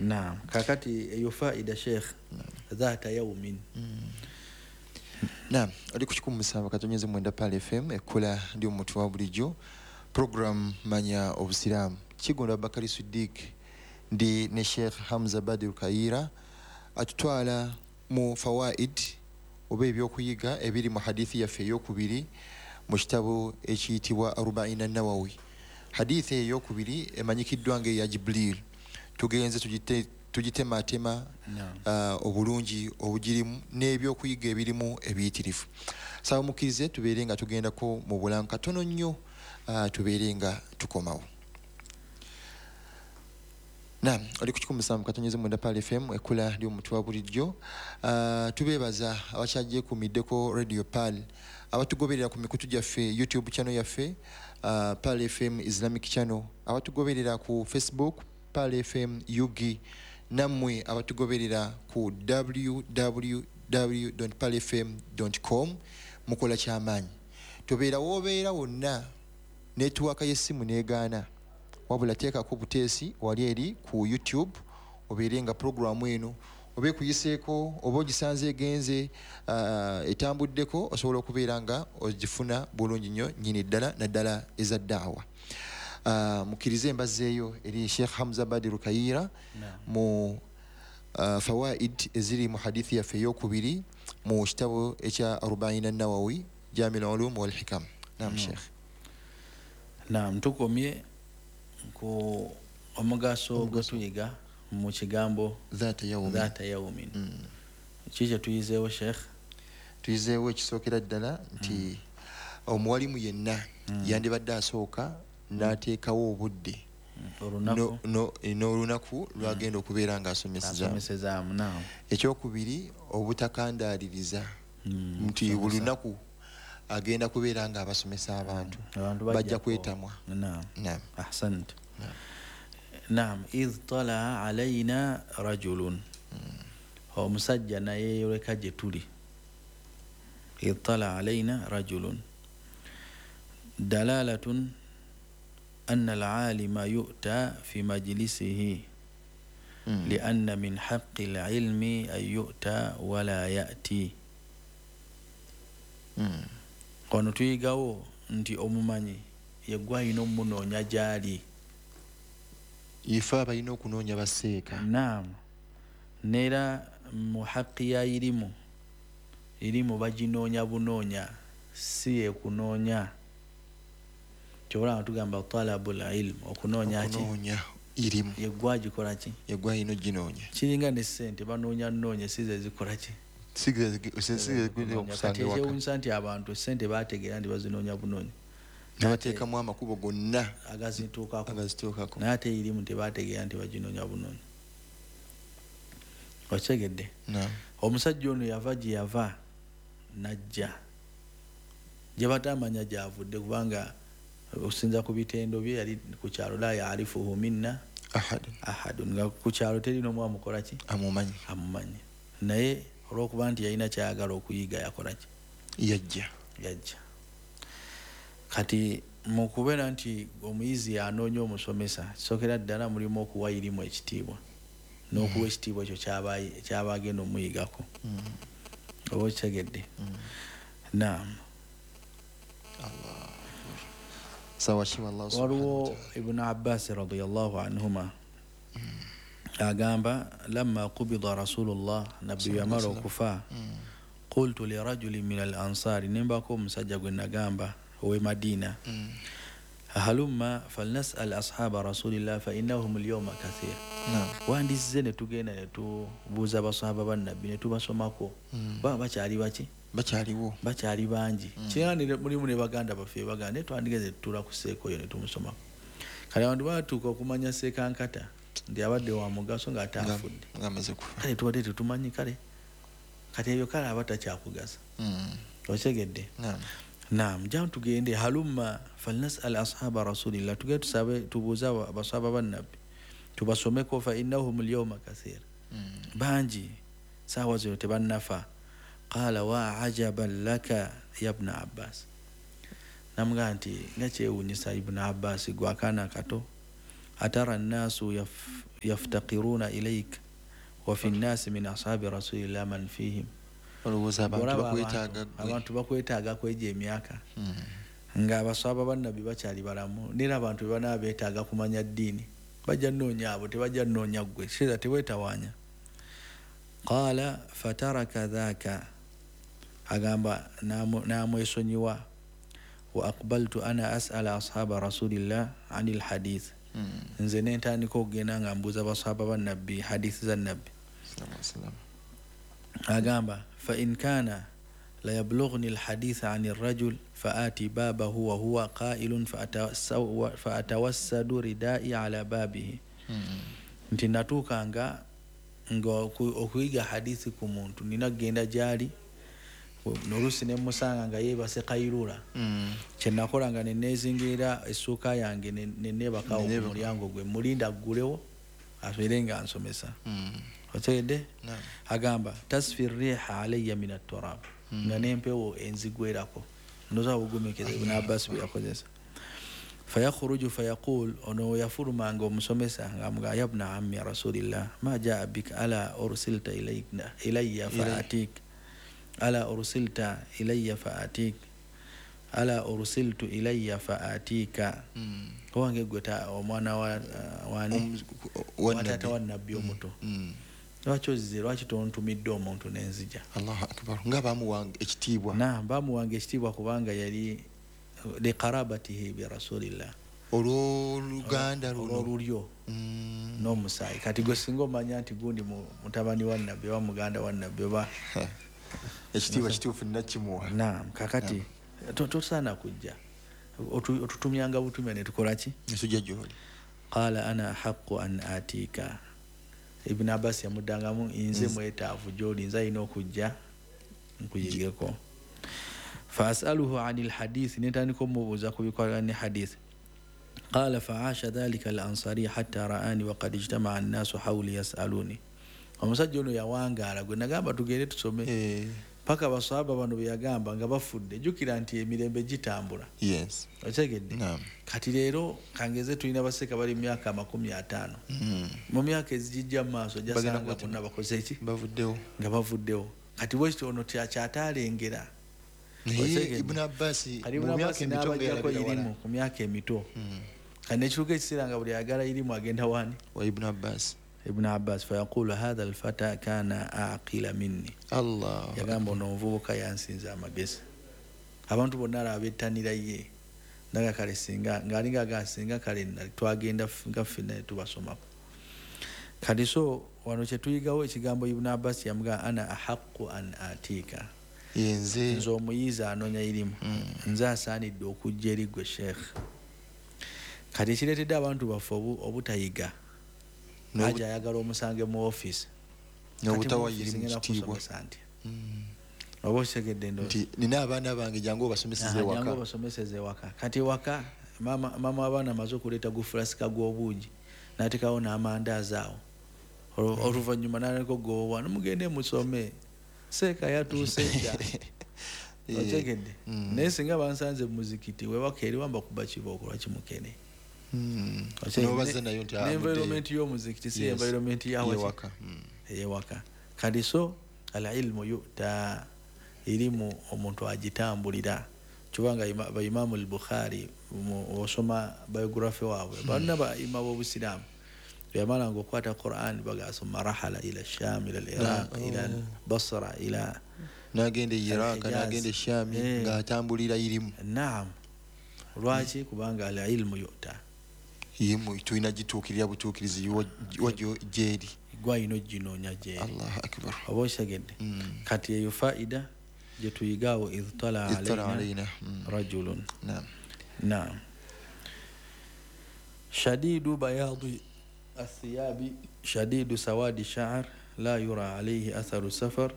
Naam, kakati eyo faida, sheikh, dhata yaumin. Naam, oli ku 107.9 Pal FM, ekkula ndi omuntu wa bulijjo, program Manya Obusiraamu, Kigondo Abakari Sidik, ndi ne Sheikh Hamza Badir Kayira, atutwala mu fawaid oba ebyokuyiga ebiri mu hadithi yaffe eyokubiri mu kitabo ekiyitibwa Arubaina Nawawi. Hadithi eyo eyokubiri emanyikiddwa nga eya Jibril. Tugenze tugitematema obulungi obugirimu n'ebyokuyiga ebirimu ebiyitirivu. Saba mukkirize tubeere nga tugendako mu bulamu katono nnyo, tubeere nga tukomawo. Nam, oli ku 107.9 Pal FM, ekkula ly'omuntu wa bulijjo. Tubeebaza abakyajekuumiddeko Radio Pal, abatugoberera ku mikutu gyaffe, YouTube channel yaffe, Pal FM Islamic Channel, abatugoberera ku Facebook, Pal FM UG, nammwe abatugoberera ku www palfm com. Mukola kyamaanyi. Tobeera woobeera wonna, netiwaaka y'essimu negaana, wabula teekako buteesi wali eri ku YouTube, obeere nga puroguramu eno oba ekuyiseeko oba ogisanze egenze, etambuddeko, osobola okubeera nga ogifuna bulungi nnyo nyini ddala, naddala eza daawa. Mukkirize embazzeeyo eri Sheikh Hamza Badiru Kayira mu fawaid eziri mu hadithi yaffe eyokubiri mu kitabo ekya Arubaina Nawawi, Jami Lulum Walhikam. Nam, Sheikh. Naam, tukomye ku omugaso gwetuyiga mu kigambo dhata yaumin. Dhata yaumin. Ki kyetuyizeewo, sheikh? Tuyizeewo ekisookera ddala nti omuwalimu yenna yandibadde asooka n'ateekawo obudde olunaku n'olunaku lwagenda okubeera ng'asomesezaamu. Asomesezaamu, naam. Ekyokubiri, obutakandaaliriza nti buli lunaku agenda kubeera ng'abasomesa abantu, abantu bajja bajja kwetamwa. Naam. Naam. Ahsant. Naam, idh talaa alaina rajulun, omusajja nayeyoleka gye tuli. Idh talaa alaina rajulun dalalatun anna alalima yu'ta fi majlisihi, lianna min haqi lilmi an yu'ta wala ya'ti. Ono tuyigawo nti omumanyi yegwe alina omunoonya gyali. Ife abalina okunoonya baseeka. Naam, neera mu haqi ya irimu, irimu baginoonya bunoonya, si yekunoonya. Kyobola nga tugamba talabu lilm, okunoonya ki? Okunoonya irimu. Yegwe agikola ki? Yegwe alina oginoonya. Kiringa ne sente, banoonya nnoonya, si ze zikola ki? Okusanga Kati ewaka. Ekyewunyisa nti abantu sente bategeera nti bazinoonya bunoonya, nebateekamu amakubo gonna agazituukako. Agazituukako. Naye ate irimu tebategeera nti baginoonya bunoonya. Okitegedde? Naam. Omusajja ono yava gye yava najja gye batamanya gyavudde, kubanga okusinza ku bitendo bye yali ku kyalo, la yarifuhu minna ahad ahadun, nga ku kyalo teri n'omu amukola ki? Amumanyi. Amumanyi. Naye olwokuba nti yalina kyayagala okuyiga, yakola ki? Yajja. Yajja. Kati mu kubeera nti omuyizi anoonya omusomesa, kisookera ddala mulimu okuwa irimu ekitiibwa n'okuwa ekitiibwa ekyo kyaba agenda omuyigako. Oba okitegedde? Naam. Sawa kiwa Allah subhanahu Waliwo wa ta'ala. Ibunu Abbasi radiallahu anhuma agamba, lamma qubida Rasulullah, nabbi yamala okufa, qultu lirajulin min al ansari, nembako omusajja gwe nagamba owe Madina, halumma falnasal ashaba rasulillah fa innahum alyawma kathir. Wandizze ne tugenda ne tubuuza basahaba bannabbi ne tubasomako, baba bakyali baki? Bakyaliwo. Bakyali bangi. Kiranga mulimu ne baganda baffe baganda, naye twandigeze tutula ku seeka oyo ne tumusomako. Kale abantu batuuka okumanya seekankata nti abadde wa mugaso ng'ate afudde. Nga amaze kufa. Kale tubadde tetumanyi. Kale kati ebyo kale aba takyakugasa. Okitegedde? Naam. Naam, jamu tugende, halumma falnasal ashaba rasulillah, tugende tusabe, tubuuze abasahaba bannabbi tubasomeko, fa innahum alyawma kathir, bangi saawa zino tebannafa. Qala wa ajaban laka ya bna Abbas, namugamba nti nga kyewunyisa, Ibnu Abbas, gwe akaana kato, atara nnaasu. yaftaqiruna ilayk wa fi nnasi min ashabi rasulillah man fihim. Olowooza abantu bakwetaaga gwe. Abantu bakwetaaga kwegyo emyaka nga abaswaba bannabbi bakyali balamu, nera abantu bwe beetaaga kumanya ddiini bajja nnoonya abo, tebajja nnoonya ggwe, kitegeeza teweetawaanya. Qaala fataraka dhaaka, agamba n'amwesonyiwa. Wa aqbaltu ana as'ala ashaba rasulillah anil hadith, nze nentandika okugenda nga mbuuza basahaba bannabbi hadithi za nabbi. Agamba fa in kana la yablughni alhaditha ani rajul faati babahu wa huwa qailun fa atawassadu ridai ala babihi. Nti natuukanga nga okuyiga hadithi ku muntu nina kugenda gyali noluusi ne musanga nga yeebase kairula. Kyenakolanga ne neezingira essuuka yange ne neebakawo ku mulyango gwe mulinda aggulewo abeere nga nsomesa. Otegedde? Agamba tasfi riha alayya min atturab, nga n'empewo enzigwerako. Ndowooza bugumiikiriza Ibn Abbas bwe yakozesa. Fayakhruju fayaqul, ono yafulumanga omusomesa ng'amugamba ya ibna ammi rasulillah ma jaa bika ala ursilta ilayya faatik ala ursilta ilayya faatik ala ursiltu ilayya faatika. Owange gwe omwana wani watata wa nabbi omuto, lwaki ozze, lwaki tontumidde omuntu nenzija? Allahu akbar. Nga bamuwanga ekitiibwa. Na bamuwanga ekitiibwa kubanga yali liqarabatihi bi rasulillah, olw'oluganda luno olulyo n'omusaayi. Kati gwe singa omanya nti gundi mutabani wa nabbi oba muganda wa nabbi oba ekitiibwa kituufu nnakimuwa. Naam, kakati tosaana kujja otutumyanga butumya ne tukola ki? Netujja gy'oli. Qaala ana ahaqqu an atika. Ibn Abbas yamuddangamu nze mwetaavu gy'oli, nze alina okujja nkuyigeko. Fa as'aluhu anil hadith, nentandika omubuuza ku bikwatagana ne hadith. Qaala fa'asha dhalika al-ansari hatta ra'ani wa qad ijtama'a an-nasu hawli yas'aluni. Omusajja ono yawangaala gwe nagamba tugende tusome paka basahaba bano bye yagamba nga bafudde. Jjukira nti emirembe gitambula. Yes. Otegedde? Kati leero kangeze tulina baseka bali mu myaka 50. Mu myaka ezigijja mu maaso ojja bonna bakoze ki? Bavuddewo. Nga bavuddewo. Kati bwekityo ono kyataalengera. Naye Ibn Abbas mu myaka emito nga yalabira wala. Ku myaka emito. Kati nekituuka ekiseera nga buli ayagala irimu agenda wani? Wa Ibn Abbas. Ibn Abbas fayaqulu hadha alfata kana aqila minni. Allah. Yagamba ono omuvubuka yansinza amagezi. Abantu bonna alaba bettanira ye. Naga kale singa ng'alinga agasinga kale twagenda nga ffenna tubasomako. Kati so wano kye tuyigawo ekigambo Ibn Abbas yamugamba ana ahaqqu an atika. Yenze nze omuyizi anoonya irimu. Nze asaanidde okujja eri ggwe sheikh. Kati ekireetedde abantu baffe obutayiga. Aja ayagala omusange mu office. N'obutawa irimu kitiibwa. Oba okitegedde ndowooza. Nti nina abaana bange jangu obasomeseze ewaka. Jangu obasomeseze ewaka. Kati ewaka maama w'abaana amaze okuleeta gufulasika gw'obuugi n'ateekawo n'amandaazi awo. Oluvannyuma n'aleka okugoba, mugende musome. Seeka yatuuse dda. Okitegedde? Naye singa bansanze mu muzikiti wewaka eri wamba kuba kibooko lwaki mukene. N'obaza nayo nti environment y'omuzikiti si environment y'awaka. Ey'ewaka. Kati so al-ilmu yu'ta, irimu omuntu agitambulira. Kubanga ba Imamu al-Bukhari osoma biography waabwe bonna ba imamu b'Obusiraamu yamalanga okukwata Quran bagasoma rahala ila Sham ila al-Iraq ila Basra ila n'agenda e Iraq n'agenda e Sham ng'atambulira irimu. Naam. Lwaki? Kubanga al-ilmu yu'ta, irimu tulina gituukirira butuukirizi wa gyeri gwayina oginoonya gyeri. Allahu akbar. Oba okitegedde? Kati eyo faida gye tuyigaawo idh talaa alayna rajulun. Naam. Shadidu bayadi athiyabi shadidu sawadi sha'r la yura alayhi atharu safar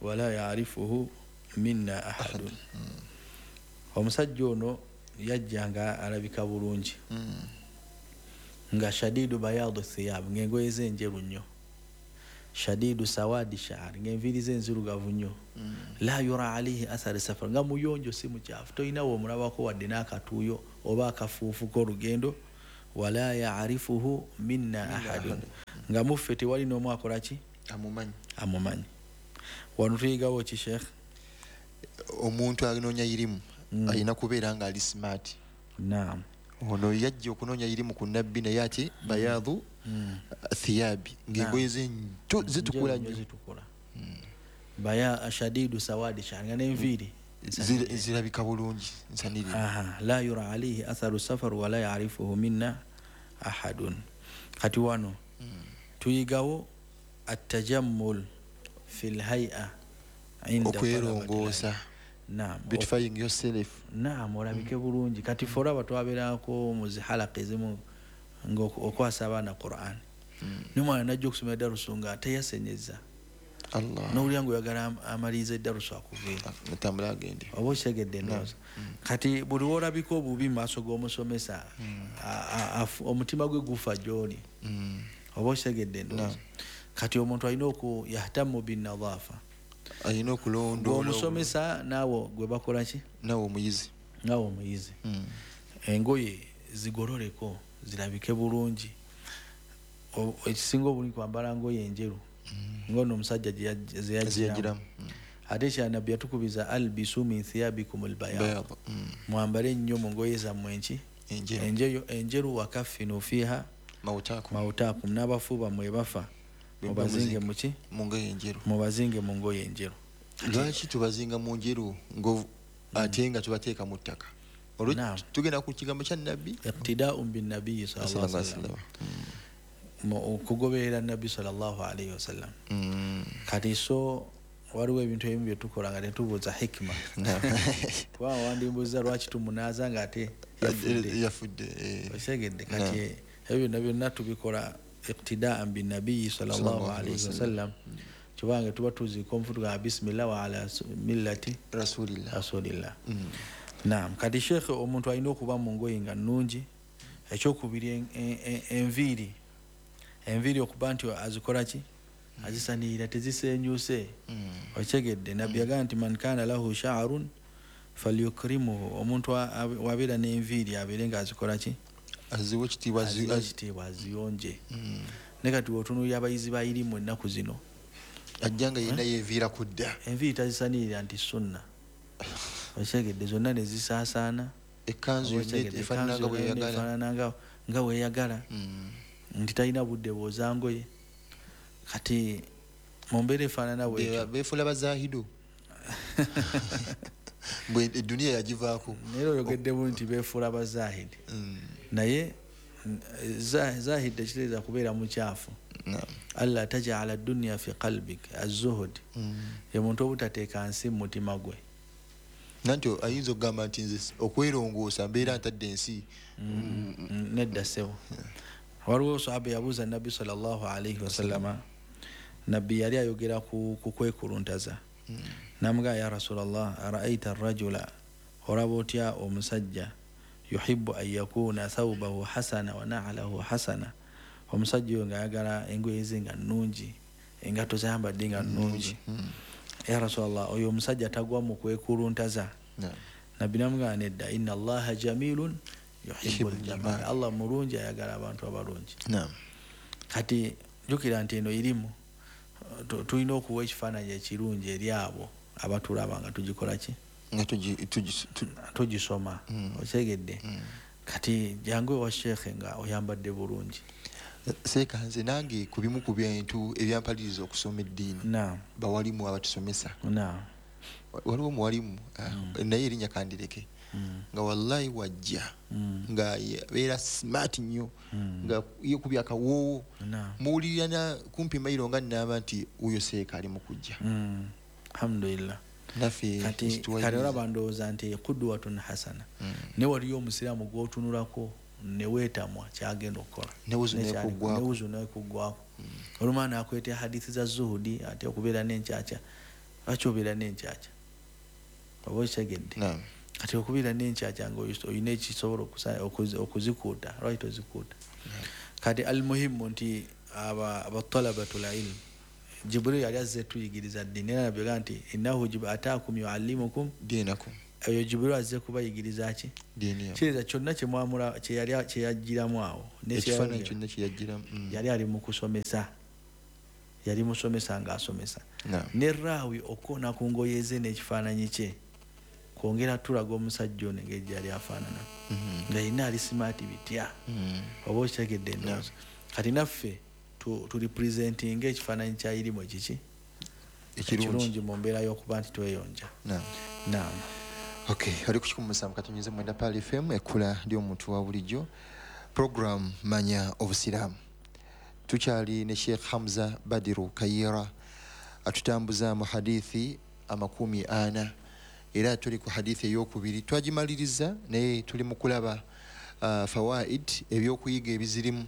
wala ya'rifuhu minna ahadun. Omusajja ono yajja nga alabika bulungi, nga shadidu bayadu thiyab, ng'engoye ze njeru nnyo, shadidu sawadi sha'r, ng'enviiri ze nzirugavu nnyo, la yura alayhi athari safar, nga muyonjo si mukyafu, tolina w'omulabako wadde n'akatuuyo oba akafuufu k'olugendo Wala ya'rifuhu minna ahadun, nga muffe tewali n'omu akola ki? Amumanyi. Wano tuyigawo ki Sheikh? Omuntu anoonya irimu alina kubeera nga ali smart. Naam. Ono yajja okunoonya irimu ku nabbi naye ate bayadhu thiyabi, ng'engoye ze zitukula nnyo. Baya shadidu sawadi shanga n'enviiri zirabika bulungi nsanirire. La yura alayhi atharu safar wala ya'rifuhu minna ahadun. Kati wano tuyigawo at-tajammul fil hay'a inda okwerongoosa. Naam, beautifying yourself. Naam, olabike bulungi. Kati ffe olaba twabeerako mu zihalaka ezimu ng'okwasa abaana Qur'an, n'omwana najja okusoma eddarusu nga teyasenyeza, n'owulira ng'oyagala amaliriza eddarusu akuveera natambula agende, oba okitegedde ndowooza. Kati buli lw'olabika obubi mu maaso g'omusomesa, omutima gwe gufa gy'oli, oba okitegedde ndowooza. Kati omuntu alina oku yahtamu binnadhafa, alina okulondoola omusomesa naawe gwe bakola ki? Naawe omuyizi. Naawe omuyizi. Engoye zigololeko zirabike bulungi. Ekisinga obulungi kwambala ngoye enjeru, ngono omusajja zeyagiramu. Ate kya nabbi yatukubiza albisu min thiyabikum albayad, mwambale nnyo mu ngoye zammwe enki? Enjeru. Wakafinu fiha mautakum, n'abafu bammwe bafa mubazinge muki? Mu ngoye enjeru. Mubazinge mu ngoye enjeru. Lwaki tubazinga mu njeru ate nga tubateeka mu ttaka? Olwo tugenda ku kigambo kya nabbi, iqtidaa'un bin nabiyyi sallallahu alaihi wasallam, okugoberera nabbi sallallahu alaihi wasallam. Kati so waliwo ebintu ebimu bye tukola nga tetubuuza hikima. Kubanga wandimbuuza lwaki tumunaaza nga ate yafudde. Okitegedde? Kati ebyo byonna byonna tubikola iqtidaan bin nabiyyi sallallahu alaihi wasallam, kubanga tuba tuziika omufu tugamba bismillah wa ala millati rasulillah. Naam. Kati Sheikh, omuntu alina okuba mu ngoye nga nnungi. Ekyokubiri, enviiri. Enviiri okuba nti azikola ki? Azisanirira, tezisenyuse. Okitegedde? Nabbi yagamba nti man kana lahu sha'run falyukrimuhu, omuntu wabeera n'enviiri abeere nga azikola ki? Aziwe ekitiibwa, aziyonje. Ne kati w'otunuulira abayizi ba irimu ennaku zino, ajja nga yenna yeeviira ku dda, enviiri tazisanirira nti sunna. Okitegedde? Zonna ne zisaasaana, ekkanzu efaanana nga bweyagala, nti talina budde bw'oza ngoye. Kati mu mbeera efaanana bwetyo beefuula bazahidu, bwe eduniya yagivaako. Naye oyogeddemu nti beefuula bazahidi, naye zahidi tekitegeeza kubeera mukyafu. Alla tajala dunya fi qalbik az-zuhud, ye muntu obutateeka nsi mu mutima gwe. Nanti ayinza okugamba nti nze okwerongoosa mbeera ntadde ensi. Nedda ssebo. Waliwo sahaba yabuuza nabbi sallallahu alaihi wasallama, nabbi yali ayogera ku kwekuluntaza. Namugamba ya Rasulallah, araaita arrajula, olaba otya omusajja yuhibbu an yakuna thawbahu hasana wa na'lahu hasana, omusajja oyo ng'ayagala engoye ze nga nnungi, engatto zayambadde nga nnungi. Ya Rasulallah, oyo omusajja tagwa mu kwekuluntaza? Nabbi namugamba nedda, inna Allaha jamilun yuhibbul jamal, Allah mulungi ayagala abantu abalungi. Kati jjukira nti eno irimu tulina okuwa ekifaananyi ekirungi eri abo abatulaba nga tugikola ki? Nga tugisoma. Okitegedde? Kati jangu ewa Sheikh nga oyambadde bulungi. Seeka, nze nange ku bimu ku bintu ebyampaliriza okusoma eddiini, bawalimu abatusomesa. Waliwo omuwalimu naye erinnya kandireke, nga wallahi wajja nga abeera smart nnyo, nga yekubya akawoowo, muwulirira kumpi mayiro nga nnamba nti oyo Seeka ali mu kujja. Alhamdulillah. Naffe kati olaba ndowooza nti qudwatun hasana, naye waliyo omusiraamu gw'otunulako ne weetamwa kyagenda okukola, newuzu nekuggwako. Olumala n'akweta hadithi za zuhudi ate okubeera n'enkyakya. Lwaki obeera n'enkyakya? Oba okitegedde? Kati okubeera n'enkyakya nga olina ekisobola okuzikuuta, lwaki tozikuuta? Kati almuhimu nti abatalabatul ilm, Jibril yali azze tuyigiriza ddiini, era nabbi yagamba nti innahu ataakum yuallimukum dinakum, Oyo Jibrilu azze kubayigiriza ki? Kitegeeza kyonna kyemwamula kyeyajjiramu awo, ekifaananyi kyonna kyeyajjiramu, yali ali mu kusomesa, yali musomesa ng'asomesa. Ne raawi okukoona ku ngoye ze n'ekifaananyi kye kwongera tulaga omusajja ono engeri gyali afaanana, nga yenna ali simaati bitya, oba okitegedde endowooza. Kati naffe turepresentinga ekifaananyi kya irimu ekiki ekirungi mu mbeera y'okuba nti tweyonja. Naam. Okay, oli ku 107.9 Pearl FM, ekkula ly'omuntu wa bulijjo, program Manya Obusiraamu. Tukyali ne Sheikh Hamza Badiru Kayira atutambuza mu hadithi 40, era tuli ku hadithi eyokubiri twagimaliriza, naye tuli mu kulaba fawaid, ebyokuyiga ebizirimu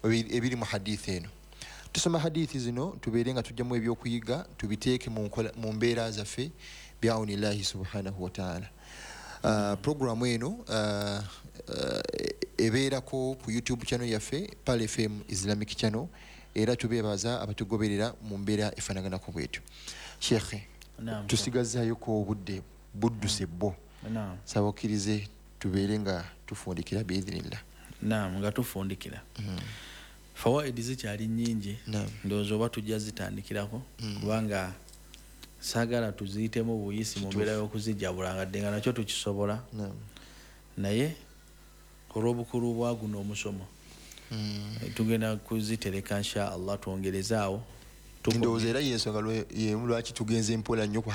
ebiri mu hadithi eno. Tusoma hadithi zino tubeere nga tujjamu ebyokuyiga tubiteeke mu mbeera zaffe biaunillahi subhanahu wa ta'ala. Programu eno ebeerako ku YouTube channel yaffe Pearl FM Islamic Channel, era tubeebaza abatugoberera mu mbeera efaanaganako bwetyo. Sheikh, tusigazaayoko obudde budduse bbo, saba okkirize tubeere nga tufundikira biidhinillah. Naam, nga tufundikira. Fawaidi zikyali nnyingi, ndowooza oba tujja zitandikirako, kubanga saagala tuziyitemu buyisi mu mbeera y'okuzijjabula, nga dde nga nakyo tukisobola, naye olw'obukulu bwa guno omusomo tugenda kuzitereka insha Allah, twongerezaawo. Ndowooza era y'ensonga yemu lwaki tugenze mpola nnyo ku